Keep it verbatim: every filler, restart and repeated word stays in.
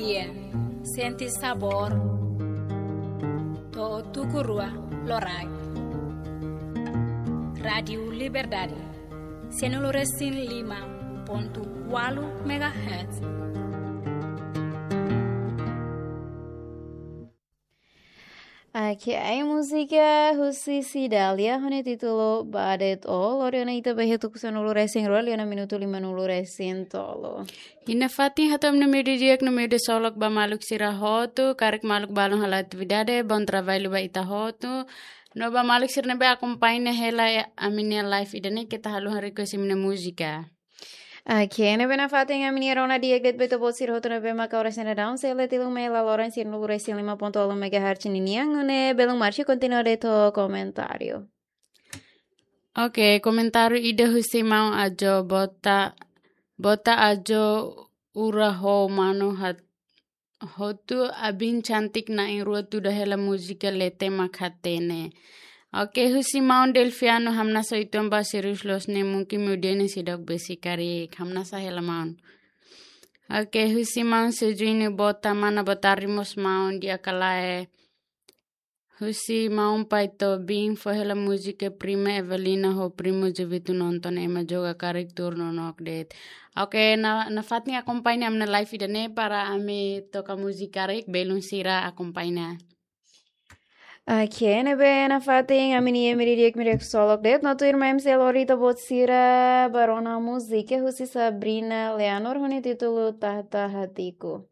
Iya, sente sabór. To'o tuku rua loraik. Rádiu Liberdade, sianulu resin lima pontu ualu megahertz. Oke, ai múzika husi Cidalia ho nia títulu Ba De'it Ó, lori ona ita ba iha tuku sanulu resin rua, liu ona minutu limanulu resin tolu. I nafatin hato'o ami-nia meiudia di'ak no meiudia ksolok ba maluk sira hotu, karik maluk balun halo atividade, bom trabalho ba ita hotu. No ba maluk sira ne'ebé akompaña hela ami-nia live ida-ne'e, keta haluha request imi-nia múzika. Oke, ne'ebé nafatin ami-nia rona di'ak de'it ba ita-boot sira hotu ne'ebé maka oras ne'e daudaun, sei la tilun mai laloran sianulu resin lima pontu ualu megahertz ninian, nune'e belun marcha kontinua de'it ho komentáriu. Oke, komentáriu ida husi maun Ajo Bota, Bota Ajo Ura ho manu hat hotu abin cantik na'in rua tuda hela múzika leten mak hatene. Oke, husi maun Delfiano, hamnasa uitoan ba serius loos ne'e mungkin meudia ne'e seidauk besik karik, hamnasa hela maun. Oke, husi maun Sejuini Bota, mana botarde mós maun di'ak ka lae. Husi maun Pai Tobin, fó hela múzika Prima Evelina ho Primo Jovito nonton ema joga karik turno nok de'it. Oke, na, nafatin akompaña ami-nia live ida-ne'e para ami toka múzika karik, belun sira akompaña. Oke, ne'ebé nafatin ami-nia meiudia di'ak, meiudia ksolok de'it, no tuirmai ami sei lori ita-boot sira ba rona múzika husi Sabrina Leonor ho nia títulu Tahta Hatiku.